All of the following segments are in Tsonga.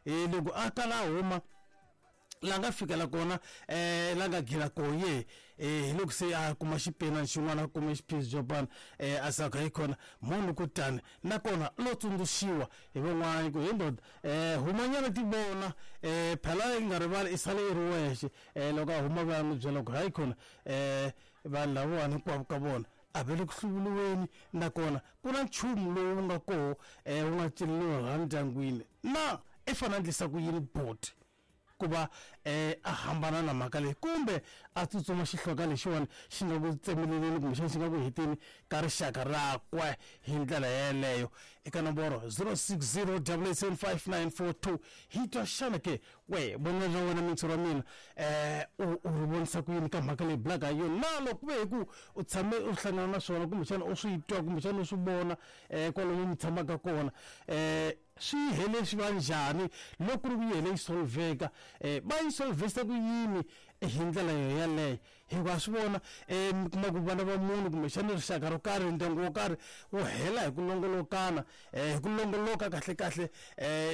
Hi loko a kala a huma la nga fikela kona la nga gila kona ye hi loko se a kuma xipinani xin'wana a kume xiphizi xo pana a saka hi khona munhu kutani nakona lo tsundzuxiwa hi van'wana ku hi ndoda humanyana ti vona phela yi nga rivali i sale i ri wexe loko a huma va ya n'wi byela ku hayi khona vanhu lavawani hinkwavo ka vona a va le ku hluvuriweni nakona ku na nchumu lowu nga koho wu nga celeriwa laha ndyangwini na i fanele a endlisa ku yini boti ku va a hambana na mhaka leyi kumbe a tsutsuma xihloka lexiwani xi nga ku tsemeleleni kumbexana xi nga ku heteni ka rixaka rakwe hi ndlela yeleyo. Eka nomboro 060 875 hi twa xana ke we vonelo ra wena mintshuri wa mina u u ri vonisa ku yini ka mhaka leyi bulaka hi yona na loko ku ve hi ku u tshame u hlangana na swona kumbexana u swi twa kumbexana u swi vona kwalomu mi tshamaka kona swi hele swi va njhani loko ku ri ku yi hele yi solveka va yi solvesa ku yini hi ndlela yo yaleyo hikuva swi vona mi kuma ku vana va munhu kumbexana rixaka ro karhi ndyangu wo karhi wu hela hi ku longolokana hi ku longoloka kahlekahle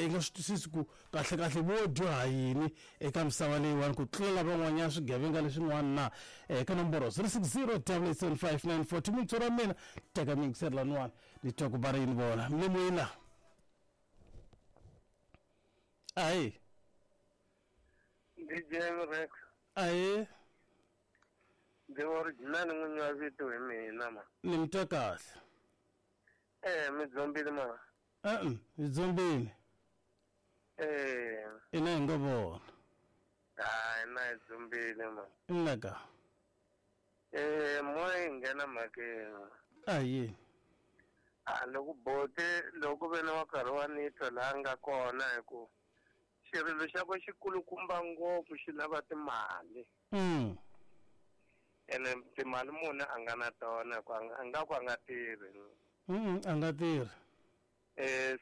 yi nga swi twisisi ku kahlekahle vo dyoha yini eka misava leyiwani ku tlula lavan'wanyana swigevenga leswin'wana na eka nomboro 060 875 mintshuri ra mina teka mi yingiseri laniwani ni twa ku va ri yini vona mi le moyeni la ahi DJ Rex ahi ndi original n'winyi wa vito hi mina ma ni mi twa kahle mi dzombile ma e-e hi dzombile ina hi nga vona hayi na hi dzombile ma ina ka mo yi nghena mhakeni ahi a loko bote loko ve na wa karhi wa nitwa laha nga kona hi ku xirilo xa ku xi kulukumba ngopfu xi lava timali ene timali munhu a nga na tona ku a nga ku a nga tirhi a nga tirhi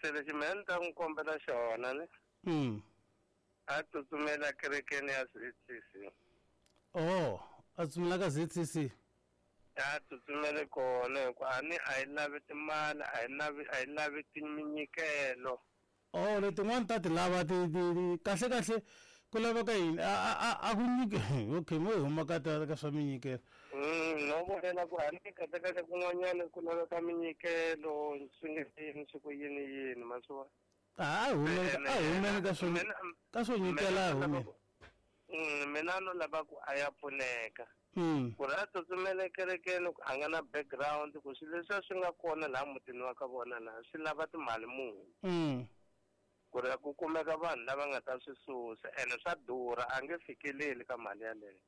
se lexi mina ni ta n'wi kombela xona ni a tsutsumela kerekeni ya ZCC. Oh a tsutsumela ka ZCC. A tsutsumele kona hikuva a ni a yi lavi timali a yi lavi a yi lavi minyikelo. Oh letin'wani ta ti lava ti ti kahle kahle ku laveka yini a a ku nyike okay mo hi huma ka ta ka swa minyikelo. No vulela ku a ni kahle kahle kun'wanyana ku laveka minyikelo swi nge yini swi ku yini yini ma swi vona. A humeni a humeni ka swo ka swo nyikela a humeni. Mina no lava ku a ya pfuneka. Ku ri a tsutsumele kerekeni ku a nga na background ku swilo leswiya swi nga kona laha mutini wa ka vona laha swi lava timali muni. Ku ri ku kumeka vanhu lava nga ta swi susa ene swa durha a nge fikeleli ka mali yaleyo.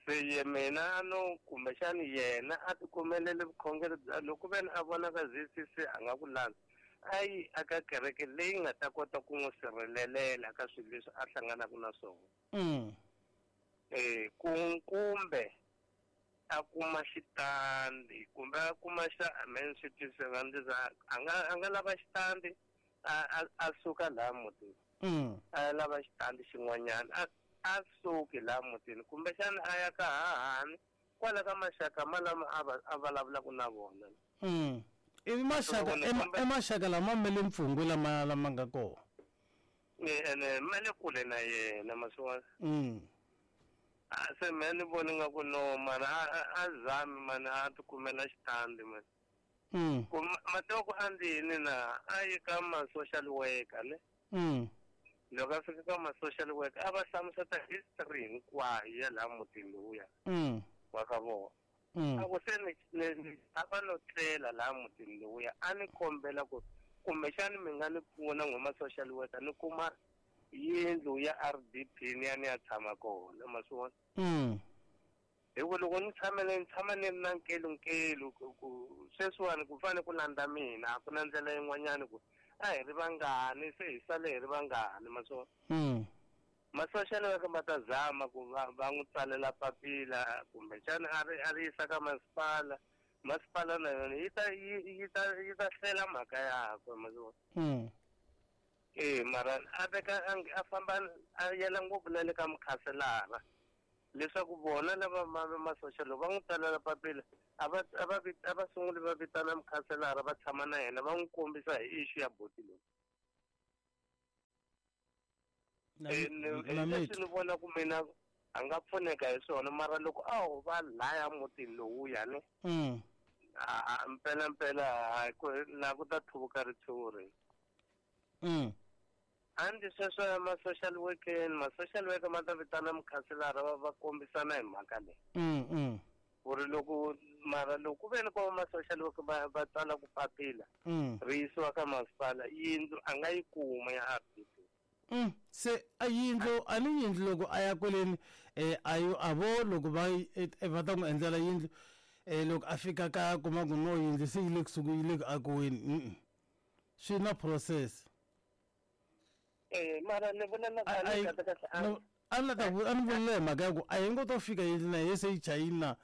Se ye mina no kumbexani yena a ti kumelele vukhongeri bya loko ve ni a vona ka ZCC a nga ku landza a yi aka kereke leyi nga ta kota ku n'wi sirhelelela ka swilo leswi a hlanganaka na swona. Ku kumbe a kuma xitandi kumbe a kuma xa amen swi twisisa a nga a nga lava xitandi a a suka laha mutini a lava xitandi xin'wanyana a suki laha mutini kumbexana a ya ka hahani kwala ka maxaka malama a va a vulavulaka na vona. Ivi maxaka i maxaka lama ma le mpfungwe lama lama nga kona. Ene ma le kule na yena ma swi vona. A se me ni voni nga ku no mara a zami mani a ti kumela xitandi mani. Ku ma tiva ku a ndzi yini na a yi ka ma social worker ne. Loko a fika ka ma social worker a va hlamuseta history hinkwayo ya laha mutini lowuya wa ka vona. A ku se ni a va no tlela laha mutini lowuya a ni kombela ku kumbexani mi nga ni pfuna n'we ma social worker ni kuma yindlu ya RDP ni ya ni ya tshama kona ma swi vona. Hi ku loko ni tshamele ni tshama ni ri na nkelunkelu ku sweswiwani ku fane ku landza mina a ku na ndlela yin'wanyani ku a hi ri vangani se hi sale hi ri vangani ma swi vona. Ma social worker ma ta zama ku va va n'wi tsalela papila kumbexana a ri a ri yisa ka masipala masipala na yona yi ta yi ta yi ta hlela mhaka yakwe ma swi vona. Mara a veka a famba a yela ngopfu na le ka mukhanselara leswaku vona lava ma social va n'wi tsalela papila a va a va a va sunguli va vitana mukhanselara va tshama na yena va n'wi kombisa hi issue ya boti loyi. Leswi ni vona ku mina a nga pfuneka hi swona, mara loko a ho va laya mutini lowuya ne mpela mpela la ku ta thuvuka ritshuri. Andi sweswo ya ma-social workeni, ma-social worker ma ta vitana mukhanselara va kombisana hi mhaka leyi. Ku ri loko mara loko ku ve ni ko ma-social worker va tsala ku papila ri yisiwa ka masipala, yindlu a nga yi kuma ya RDP. Se a yindlu a ni yindlu loko a ya kweleni ayo a vo loko va va ta n'wi endlela yindlu loko a fika kaya kuma ku no yindlu se yi le kusuhi yi le ku akiweni. Swi na process. Mara ni vula na kahle kahle a ni ta a ni vula hi mhaka ya ku a yi ngo to fika yindlu na ye se yi chayini na.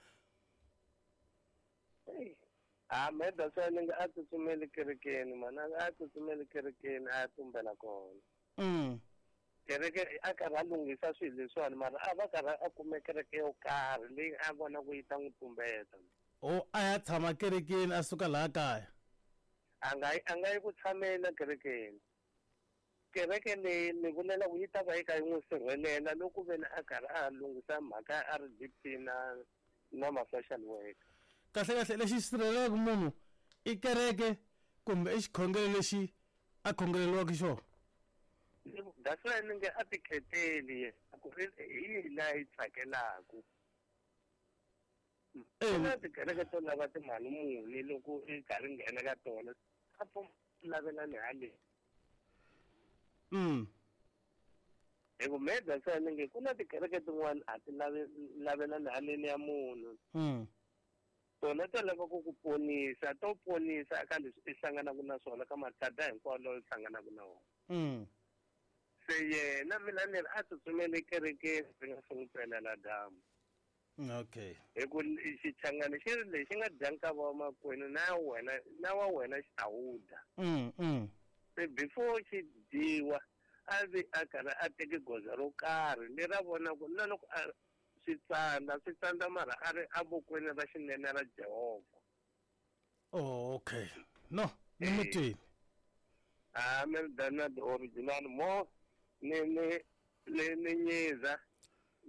A meda se ni nga a tsutsumeli kerekeni mana, a tsutsumeli kerekeni a ya tumbela kona. Kereke a karhi a lunghisa swilo leswiwani, mara a va karhi a kume kereke yo karhi leyi a vona ku yi ta n'wi tumbeta. O a ya tshama kerekeni a suka laha kaya. A nga yi ku tshamela kerekeni. Kereke leyi ni vulela ku yi ta va yi ka yi n'wi sirhelela loko ve ni a karhi a lunghisa mhaka ya RDP na ma-social worker. Kahle kahle lexi sirhelelaka munhu i kereke kumbe i xikhongelo lexi a khongeleriwaka xona. That's why ni nge a ti kheteli ku ri hi laha yi tsakelaku. Na tikereke to lava timali muni loko i karhi nghena ka tona a lavelani haleni. Hi ku meda se ni nge ku na tikereke tin'wana a ti lavelani haleni ya munhu. Tona to lava ku ku ponisa, to ponisa ka leswi i hlanganaka na swona ka mathada hinkwawo lawa i hlanganaka na wona. Se yena mina ni ri a tsutsumele kerekeni ri nga se n'wi pelela dyambu. Okay. Hi ku xichangani xi ri lexi nga dya nkava wa makwenu na wena na wa wena xi ta wu dya. Se before xi dyiwa a vi a karhi a teke goza ro karhi leri a vonaka na loko a swi tsandza mara a ri evokweni ra xinene ra Jehovha. Oh, okay. No, ni mutini. A mi ri the original mo ni ni ni nyiza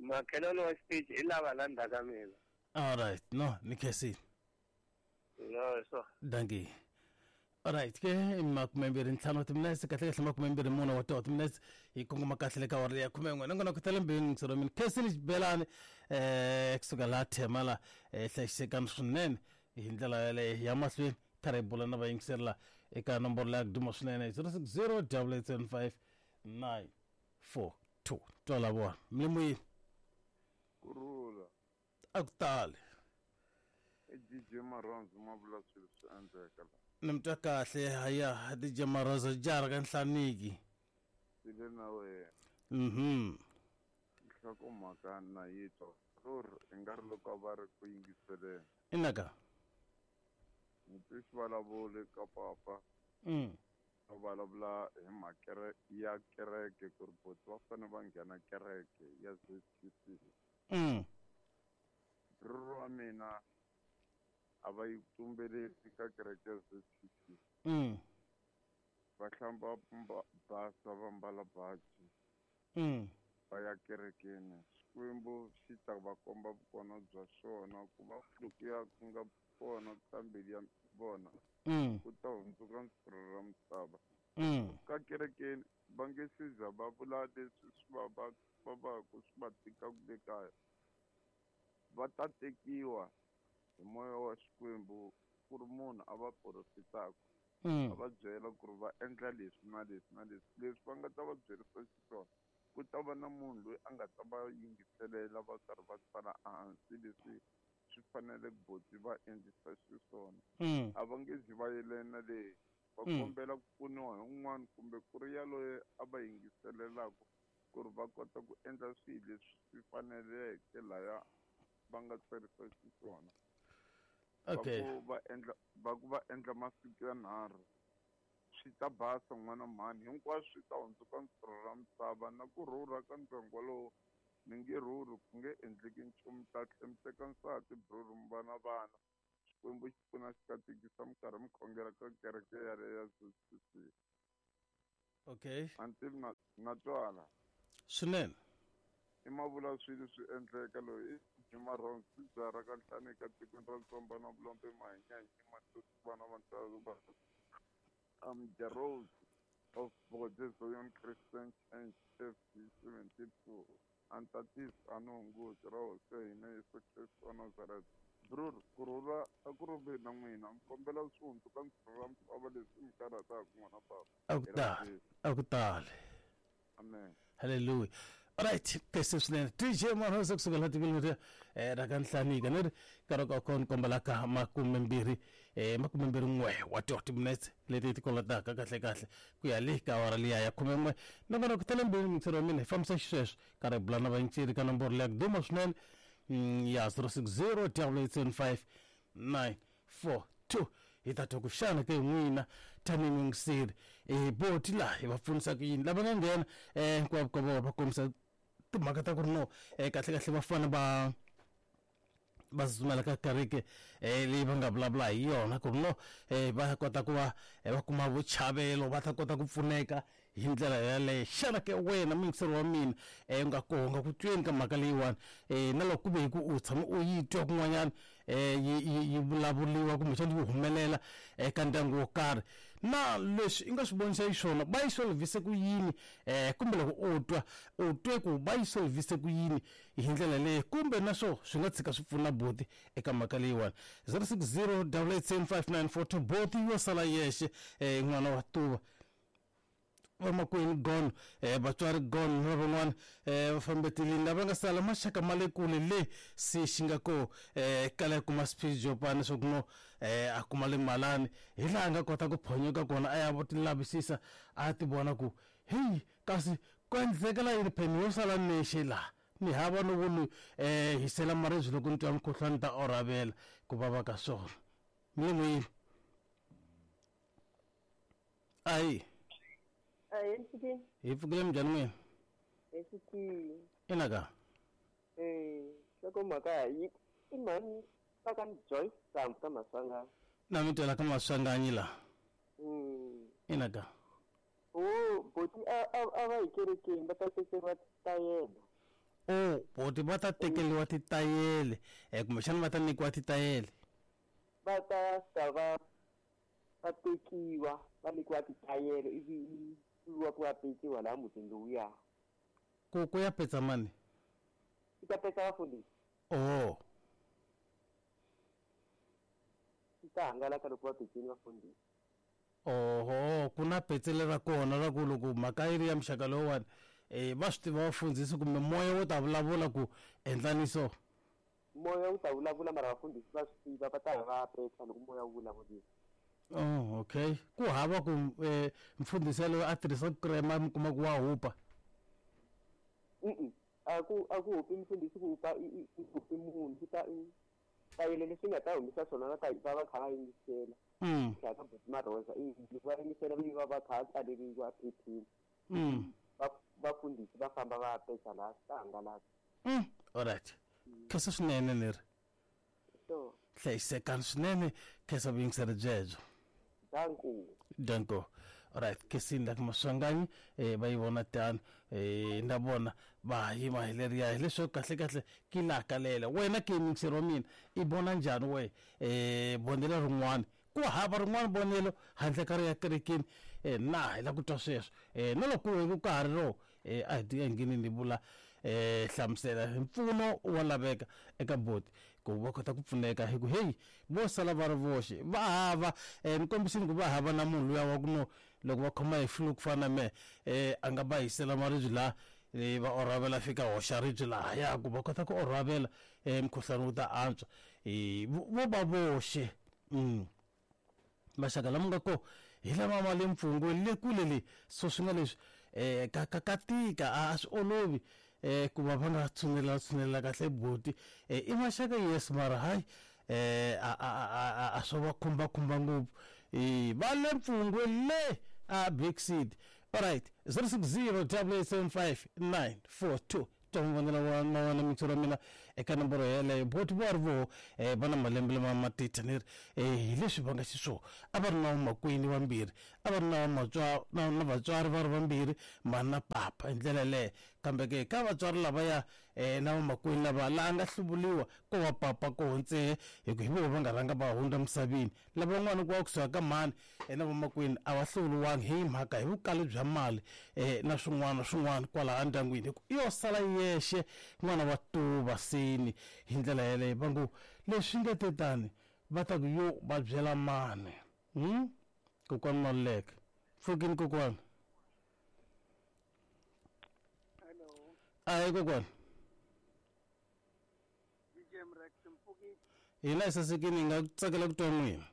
makhelwani wa xitichi hi lava la ndzhaku ka mina. All right, no, ni khensile. No, so. Dankie. All right, ke 25 timinetse kahle kahle 24 wa timinetse hi kongoma kahle le ka awara ya 11 nangona ku tala mbirhi ngisero mina khensile xibelani kusuka laha Thema la hlayisekani swinene hi ndlela yaleyo ya mahlweni karhi hi bula na vayingiseri la eka nomboro leya ku duma swinene 060 875 942. Twala vona mlimuyini kurula a ku tali i DJ Maronzo ma vula swilo swi endleka la. Ni mi twa kahle haya DJ Maronzo jara ka nhlaniki sile na wena. Nhlokomhaka na yi twa ruri i nga ri loko va ri ku yingiseleni. Inaka ni twi xivulavuli ka papa va vulavula hi mhaka ya kereke ku ri boti va fanele va nghena kereke ya ZCC. Bruru wa mina a va yi tumbeleli ka kereke ya ZCC. Va hlamba basa va mbala baji va ya kerekeni. Xikwembu xi ta va komba vukona bya xona ku va lokuya ku nga kona ka mbilu ya vona ku ta hundzuka ntirho ra misava. Ka kerekeni va nge siza va vula leswi swi va vavaku swi va tikaka le kaya. Va ta tekiwa hi moya wa Xikwembu ku ri munhu a va porofitaka a va byela ku ri va endla leswi na leswi na leswi leswi va nga ta va byerisa xiswona. Ku ta va na munhu loyi a nga ta va yingiselela va karhi va tsala ehansi leswi swi fanele boti va endlisa xiswona. A va nge zi va yelena leyi va kombela ku pfuniwa hi un'wana kumbe ku ri yaloye a va yingiselelaka ku ri va kota ku endla swilo leswi swi faneleke laya va nga tsarisa xiswona. Okay. Va ku va endla masiku ya 3 swi ta basa n'wana mhani hinkwaswo swi ta hundzuka ntirho ra misava na ku rhurha ka ndyangu wolowo ni nge rhurhi ku nge endleki nchumu ta tlhe mi teka nsati bruru mi va na vana. Xikwembu xi pfuna xi katekisa minkarhi mi khongela ka kereke yaleyo ya ZCC. Okay. A ni tivi na twala. Swinene. I mavula swilo swi endleka loyi i Jimarons byara ka nhlani ka tikweni ra Ntsomba na Vulombe Mahinyanyi Matuti vana va ntsalo va I'm the Rose of Bode Zion Christian Church FG 72 Antatis Anongo ra Hosi ya hina Yesu Kristu wa Nazareth. Brur, ku rhula a ku ri na n'wina. Ni kombela swi hundzuka ndzilo ra misava leswi mi karhataka n'wana baba. A ku tali, a ku tali. Amen. Hallelujah. Alright, kese swinene. DJ Marhosa kusuka la tikweni leri ra ka Nhlanika ni ri nkarhi ka kona komba ka 21 21 wa 30 minutes leti ti kolotaka kahle kahle ku ya le ka awara liya ya 11 nakona ku tele mbirhi mixero wa mina hi fambisa xisweswo karhi hi bula na vayingiseri ka nomboro leya ku duma swinene ya 060 875 942 hi ta twa ku xana ke n'wina tanihi muyingiseri boti laha hi va pfunisa ku yini lava nga nghena hinkwavo ka vona va kombisa timhaka ta ku ri no kahle kahle va fane va va tsutsumela ka kereke leyi va nga vulavula hi yona ku ri no va kota ku va va kuma vuchavelo va ta kota ku pfuneka hi ndlela yaleyo. Xana ke wena muyingiseri wa mina u nga koho nga ku tweni ka mhaka leyiwani na loko ku ve hi ku u tshama u yi twa kun'wanyana yi vulavuliwa kumbexana yi humelela eka ndyangu wo karhi na leswi i nga swi vonisa xiswona va yi solvise ku yini kumbe loko u twa u twe ku va yi solvise ku yini hi ndlela leyi kumbe na swo swi nga tshika swi pfuna boti eka mhaka leyiwani. 060 8875942 boti yo sala yexe n'wana wa tuva vamakwenu gone vatswari gone na van'wana va fambetelini lava nga sala maxaka ma le kule le se xi nga ko kala kuma swiphijopana leswaku no a kuma le malani hi laha a nga kota ku phonyoka kona a ya vo ti lavisisa a ti vona ku heyi kasi ku endlekela yini pheni yo sala nexe laha ni hava no vo ni hisela maribye loko ni twa mukhuhlwani ta orhavela ku vava ka swona mi le moyeni. Ayi. Hi pfukile minjhani n'wina? Hi pfukile. Ina ka? Loko mhaka yi i mhani va ka Joyce Sambu ka Maswanganyi. Na mi twela ka Maswanganyi laha. Ina ka? O boti a va yi kerekeni va ta tekeriwa titayele. O boti va ta tekeriwa titayele kumbexana va ta nyikiwa titayele. Va ta fika va va tekiwa va nyikiwa titayele ivi wa ku ya petsiwa laha mutini lowuya. Ku ya petsa mani? Ku ta petsa vafundhisi. Oh. Swi ta hangalaka loko va petsini vafundhisi. Oho, ku na petsele ra kona ra ku loko mhaka yi ri ya muxaka lowuwani va swi tiva vafundhisi kumbe moya wo ta vulavula ku endlani so. Moya wu ta vulavula mara vafundhisi va swi tiva va ta va petsa loko moya wu vulavulile. Oh, okay. Ku hava ku mfundhisi yaloye a tirhisa krema mi kuma ku wa hupa. A ku hupi mfundhisi ku hupa i hupi munhu ku ta tayele leswi nga ta humisa swona va ta va va kha va yingisela. Tlhela ka Boti Marhoza loko va yingisela va va kha va tsaleriwa phepheni. Vafundhisi va famba va petsa laha swi ta hangalaka. Alright. Khensa swinene ni ri. Hlayisekani swinene khensa vuyingiseri byebyo. Danko. Danko. Alright, khensini la ka Maswanganyi va yi vona tano na vona va yima hi leriya hileswaku kahle kahle ki laha kalela wena ke muyingiseri wa mina i vona njhani we vonelo rin'wana ku hava rin'wana vonelo handle ka ri ya kerekeni na hi la ku twa sweswo na loko ku ka ha ri ro a hi ti engeneni ni vula hlamusela mpfuno wa laveka eka boti ku va kota ku pfuneka hi ku heyi vo sala va ri voxe va hava ni kombisini ku va hava na munhu luya wa ku no loko va khoma hi flu ku fana na mehe a nga va hisela maribye laha va orhavela fika hoxa ribye lahaya ku va kota ku orhavela mukhuhlwani wu ta antswa vo va voxe maxaka lama nga ko hi lama ma le mpfungweni le kule le so swi nga leswi ka tika a swi olovi ku va va nga tshunelela kahle boti i maxaka yes mara hayi a swo va khumbakhumba ngopfu va le mpfungweni le a Big City. Alright, 060 875 942 twa ma wena mixero wa mina eka nomboro yeleyo boti va ri voho va na malembe lama ma titha ni ri hi leswi va nga xiswona a va ri na vamakwenu vambirhi. A va ri na vatswari va ri vambirhi, mhani na papa, hi ndlela yaleyo. Kambe ke ka vatswari lavaya na vamakwenu lava la a nga hluvuriwa ko va papa koho ntsehe, hi ku hi voho va nga rhanga va hundza misaveni. Lavan'wana ku va kusuka ka mhani na vamakwenu a va hluvuriwangi hi mhaka hi vukali bya mali na swin'wana swin'wana kwalaha endyangwini, hi ku i yo sala yexe n'wana wa tuva seni. Hi ndlela yaleyo va ngo leswi nga te tani va ta ku yo va byela mani. Kokwani Maluleke, pfukini kokwani. Hello. Ayi kokwani. DJ Mrex mpfukini. Hina hi sasekini, hi nga tsakela ku twa n'wina.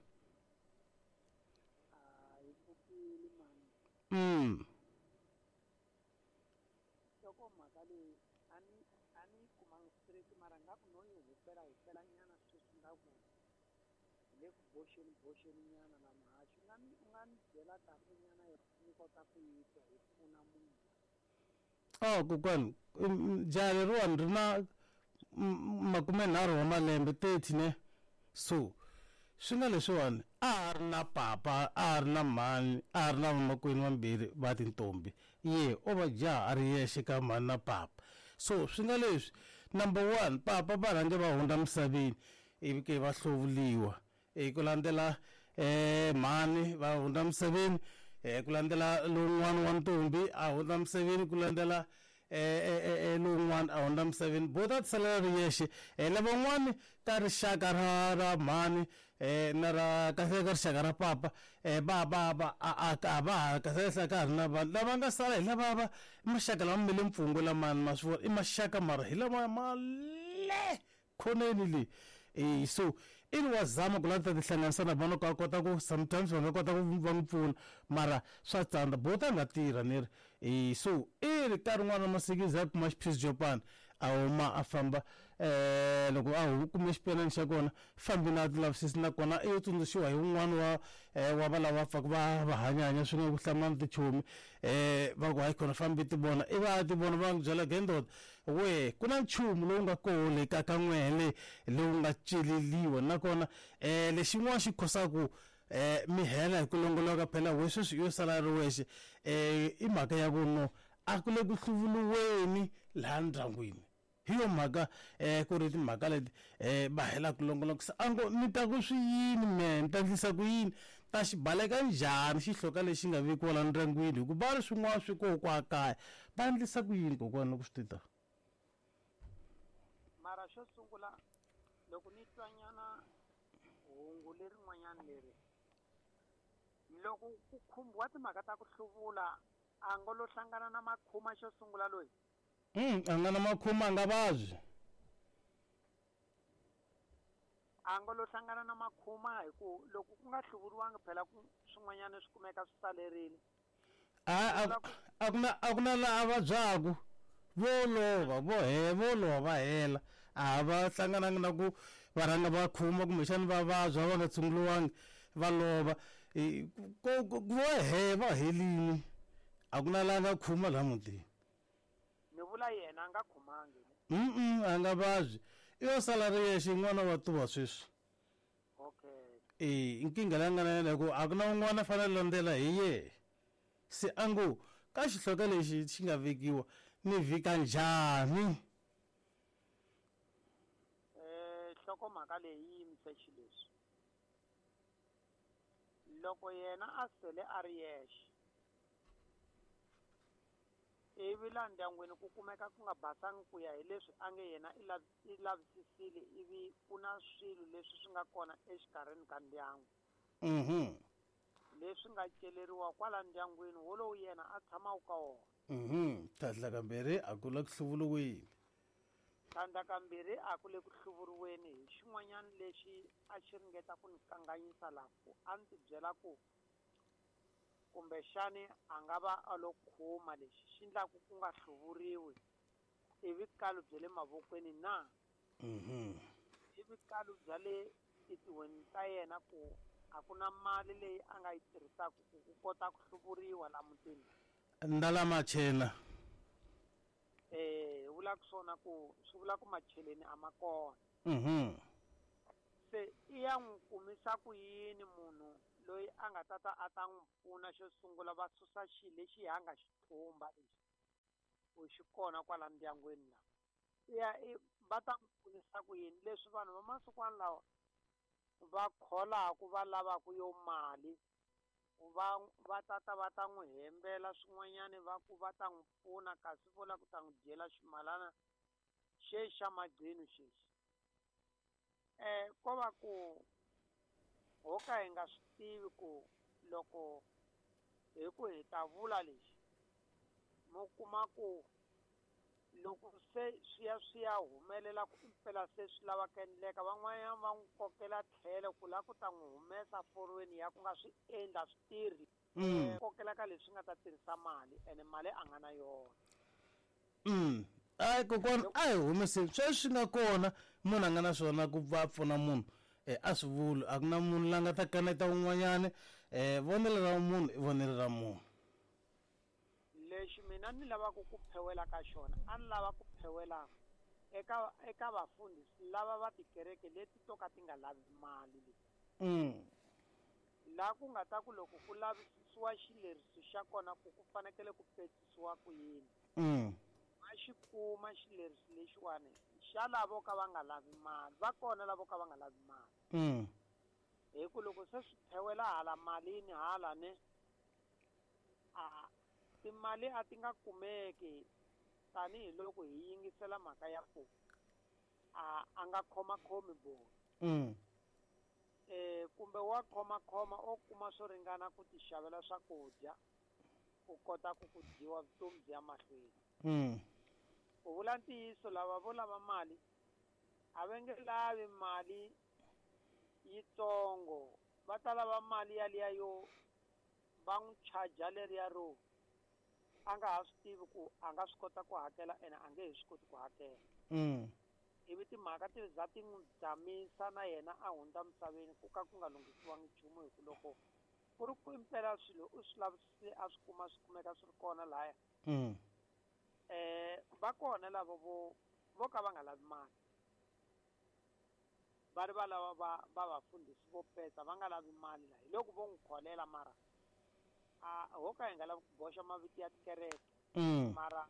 Hi pfukile mani. Nhlokomhaka leyi a ni yi kumangi straight, mara nga ku no yi hupela hupela nyana sweswi nga ku hi le ku boxeni boxeni nyana la muhaxi. U nga ni byela kahle nyana ni kota ku yi twa hi pfuna munhu. Oh kokwani, jaha leriwani ri na 30 wa malembe, 30 ne. So swi nga leswiwani a ha ri na papa, a ha ri na mhani, a ha ri na vamakwenu vambirhi va tintombi, ye o va jaha a ri yexe ka mhani na papa. So swi nga leswi, number 1, papa va rhange va hundza misaveni ivi ke va hluvuriwa, ku landzela mhani va hundza misaveni, ku landzela lowun'wana wa ntombi a hundza misaveni, ku landzela lowun'wana a hundza misaveni, bo ta tisalela ri yexe. Lavan'wani ka rixaka ra mhani na ra kahle ka rixaka ra papa va va va a va ha kahle ka ha ri na vanhu lava nga sala hi lava va maxaka lama me le mpfungwe lamani ma swi vona i maxaka mara hi lama ma le khoneni leyi. So i ri wa zama ku lava ta tihlanganisa na vona ka kota ku sometimes va nga kota ku va n'wi pfuna, mara swa tsandza, bo ta nga tirha ni ri. So i ri ka rin'wana ra masiku za kuma xiphisi xo pana a huma a famba, loko a kume xipenani xa kona fambi na tilavisisi, nakona i yo tsundzuxiwa hi wun'wana wa va lava pfaka va hanyahanya swin'we ku hlamula tichomi, va ku hayi khona fambi ti vona, i va ti vona va n'wi byela gendota we ku na nchumu lowu nga koho le ka ka n'wehe lowu nga celeliwa, nakona lexin'wana xi khosaku mi hela hi ku longoloka phela we sweswi yo sala ri wexe, i mhaka ya ku no a ku le ku hluvuriweni laha ndyangwini. Hi yo mhaka ku ri timhaka leti va hela ku longoloka. A ngo ni ta ku swi yini me, ni ta endlisa ku yini, ta xi baleka njhani xihloka lexi nga vekiwa laha ndyangwini, hikuva va ri swin'wana swi koho kwa kaya, va endlisa ku yini kokwana loko swi ti ta? Mara xo sungula loko ni twa nyana hungu lerin'wanyana leri, loko ku khumbiwa timhaka ta ku hluvula, a ngo lo hlangana na makhuma xo sungula loyi. A nga na makhuma, a nga vabyi. A ngo lo hlangana na makhuma hi ku loko ku nga hluvuriwangi phela ku swin'wanyana swi kumeka swi salerile. A ku na laha vabyaku, vo lova, vo lova va hela, a va hlangananga na ku va rhanga va khuma kumbexana va vabya va nga tshunguriwangi va lova, vo he va helini, a ku na laha nga khuma laha mutini. Ni vula yena a nga khumangi. A nga vabyi, i yo sala ri yexe n'wana wa tuva sweswi. Okay. Nkingha leyi nga na yena hi ku a ku na un'wana a fanele landzela hi yehe. Se a ngo ka xihloka lexi xi nga vekiwa ni vhika njhani? Nhlokomhaka leyi yi yimise xileswi. Loko yena a sele a ri yexe, ivi laha ndyangwini ku kumeka ku nga basangi ku ya hi leswi a nge yena i lavisisile, ivi ku na swilo leswi swi nga kona exikarhini ka ndyangu. Leswi nga celeriwa kwala ndyangwini wolowo yena a tshamaka ka wona. Tlhandla kambirhi a ku le ku hluvuriweni. Tlhandla kambirhi a ku le ku hluvuriweni hi xin'wanyana lexi a xi ringeta ku ni kanganyisa laha, ku a ndzi byela ku kumbexani a nga va a lo khuma lexi xi endlaku ku nga hluvuriwi i vukalu bya le mavokweni na? I vukalu bya le titihweni ta yena ku a ku na mali leyi a nga yi tirhisaka ku kota ku hluvuriwa la mutini. Ndala machela. Vula ku swona ku swi vula ku macheleni a ma kona. Se i ya n'wi kumisa ku yini munhu loyi a nga tata a ta n'wi pfuna xo sungula va susa xilo lexi a nga xi thumba lexi ku xi kona kwala ndyangwini la ya va ta n'wi pfunisa ku yini leswi vanhu va masikwana lawa va kholaku va lavaku yo mali va tata va ta n'wi hembela swin'wanyani va ku va ta n'wi pfuna kasi vo lava ku ta n'wi dyela ximalana xexi xa magcino xexi ko va ku ho ka hi nga swi tivi ku loko hi ku hi ta vula lexi mo kuma ku loko se swi ya humelela ku impela se swi lava ku endleka van'wanyana va n'wi kokela tlhelo ku lava ku ta n'wi humesa forweni ya ku nga swi endla swi tirhi kokela ka leswi nga ta tirhisa mali ene mali a nga na yona. Ai kokwana a hi humeseni sweswi swi nga kona munhu a nga na swona ku va pfuna munhu a swi vuli a ku na munhu la nga ta kaneta un'wanyani vonelo ra munhu i vonelo ra munhu. Lexi mina ni lavaka ku phewela ka xona a ni lava ku phewela eka vafundhisi lava va tikereke leti to ka ti nga lavi mali leti. La ku nga ta ku loko ku lavisisiwa xileriso xa kona ku ku fanekele ku petisiwa ku yini. Va xi kuma xileriso lexiwani xa lavo ka va nga lavi mali va kona lavo ka va nga lavi mali. Hi ku loko se swi phewela hala malini hala ne a timali a ti nga kumeki tanihiloko hi yingisela mhaka ya ku a nga khomakhomi boni. Kumbe wa khomakhoma o kuma swo ringana ku tixavela swakudya ku kota ku ku dyiwa vutomi byi ya mahlweni. Ku vula ntiyiso lava vo lava mali a va nge lavi mali yitsongo va ta lava mali yaliya yo va n'wi charge leriya ro a nga ha swi tivi ku a nga swi kota ku hakela ene a nge he swi koti ku hakela. Ivi timhaka ti za ti n'wi dzamisa na yena a hundza misaveni ku ka ku nga lunghisiwangi nchumu hi ku loko ku ri ku impela swilo u swi lavisise a swi kuma swi kumeka swi ri kona laya. Va kona lava vo ka va nga lavi mali va ri va lava va vafundhisi vo petsa va nga lavi mali la hi loko vo n'wi kholela mara a ho ka hi nga lavi ku boxa mavito ya tikereke mara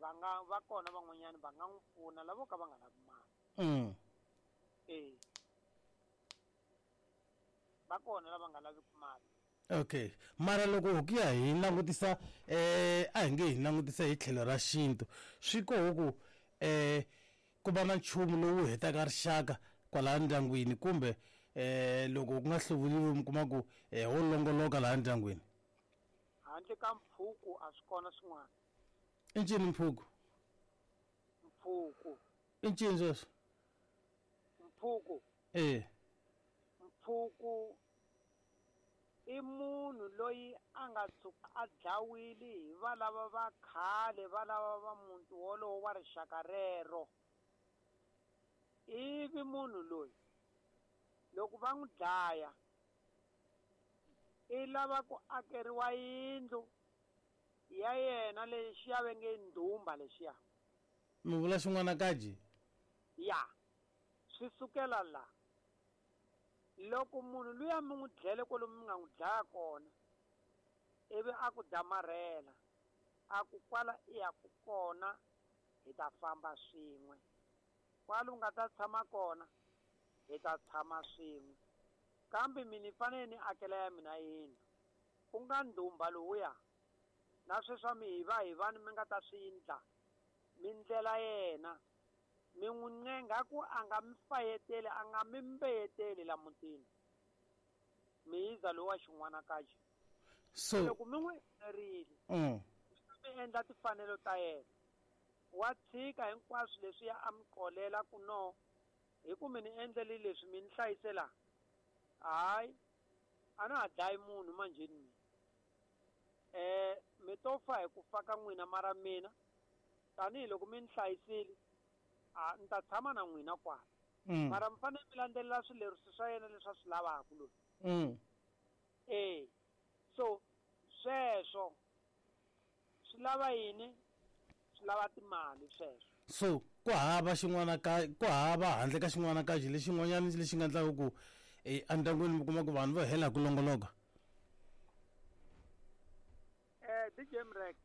va nga va kona van'wanyana va nga n'wi pfuna lavo ka va nga lavi mali. Va kona lava nga laviki mali. Okay mara loko ku ya hi langutisa a hi nge hi langutisa hi tlhelo ra xintu swi koho ku ku va na nchumu lowu hetaka rixaka kwalaha ndyangwini kumbe loko ku nga hluvuriwi mi kuma ku ho longoloka laha ndyangwini. Handle ka mpfhuku a swi kona swin'wana. I ncini mpfhuku? Mpfhuku i ncini sweswo? Mpfhuku mpfhuku i munhu loyi a nga tshuka a dlawile hi valava va khale valava va muti wolowo wa rixaka rero. Ivi munhu loyi loko va n'wi dlaya i lava ku akeriwa yindlu ya yena lexiya va nge ndhumba lexiya. Mi vula xin'wana kaji? Ya swi sukela la loko munhu luya mi n'wi dlele kwalomu mi nga n'wi dlaya kona ivi a ku damarhela a ku kwala i ya ku kona hi ta famba swin'we kwala u nga ta tshama kona hi ta tshama swin'we kambe mina ni fanele ni akela ya mina yindlu ku nga ndhumba lowuya na sweswa mi hi va hi vani mi nga ta swi endla mi ndlela yena mi n'wi ncenga ku a nga mi fayeteli a nga mi mbeyeteli la mutini mi yiza lowa xin'wana kaje. So loko mi n'wi endlerile mi endla timfanelo ta yena wa tshika hinkwaswo leswi ya a mi qolela ku no hi ku mi ni endlele leswi mi ni hlayisela hayi a na ha dlayi munhu manjheni mina mi to fa hi ku fa ka n'wina mara mina tanihiloko mi ni hlayisile a ni ta tshama na n'wina kwala. Mara mi fanele mi landzelela swileriso swa yena leswi a swi lavaka loyi. So sweswo swi lava yini? Swi lava timali sweswo. So ku hava xin'wana ka ku hava handle ka xin'wana ka lexin'wanyana lexi nga endlaka ku Endyangwini mi kuma ku vanhu va hela hi ku longoloka. DJ Mrek.